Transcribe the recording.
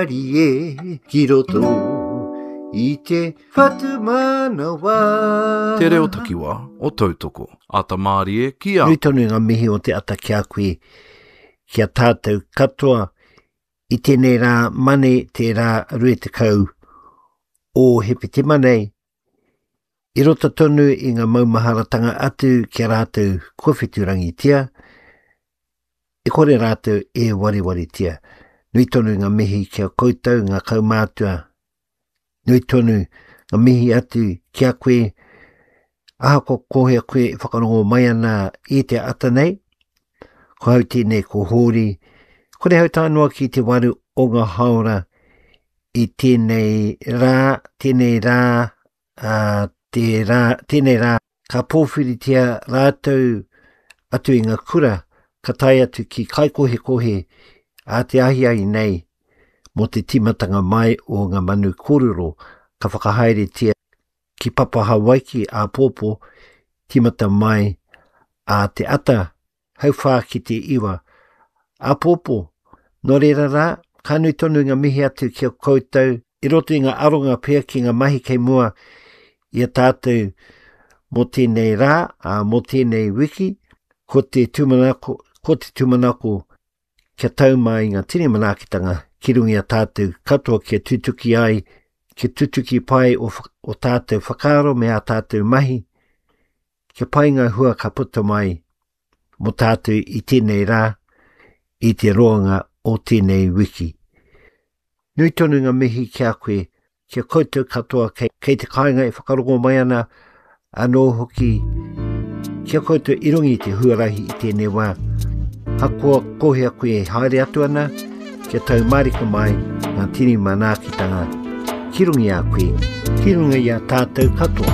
Waimarie ki roto i te whatumanawa. Te reo takiwa o Tautoko. Ata mārie ki a. Nui tonu ngā mihi o te ata ki a koe, ki a tātou katoa i tēnei rā Mane te rā 20 o Hepetema nei, i roto tonu i ngā maumaharatanga atu ki a rātou kua wheturangitia, e kore rātou e warewaritia. Nui tonu ngā mihi ki a koutou ngā kaumātua, nui tonu ngā mihi atu ki a koe, ahakoa ko hea koe e whakarongo mai ana i te ata nei, ko hau tēnei ko Hōri, kore hau tae noa ki te waru o ngā haora i tēnei rā, tēnei rā, ā, te rā, tēnei rā, ka pōwhiritia rātou atu i ngā kura, ka tae atu ki Kaikohekohe ā te ahiahi nei mō te tīmatanga mai o ngā manu kōrero ka whakahaeretia ki Papa Hawaiki āpōpō, tīmata mai ā te ata hauwhā ki te iwa. Āpōpō, nō reira rā, ka nui tonu ngā mihi atu ki a koutou i roto i ngā aronga pea ki ngā mahi kei mua i a tātou mō tēnei rā, ā, mō tēnei wiki, ko te tūmanako, ko te tūmanako kia tau mai ngā tini manaakitanga ki runga i a tātou katoa kia tutuki ai, kia tutuki pai o, o tātou whakaaro me ā tātou mahi, Kia pai ngā hua ka puta mai mō tātou i tēnei rā, i te roanga o tēnei wiki. Nui tonu ngā mihi ki a koe, ki a koutou katoa kei, kei te kāinga e whakarongo mai ana, anō hoki ki a koutou i runga i te huarahi i tēnei wā. Hakoa kohea koe e haere atu ana, kia tau mārika mai ngā tini manaakitanga ki runga i a koe, ki runga i a tātou katoa.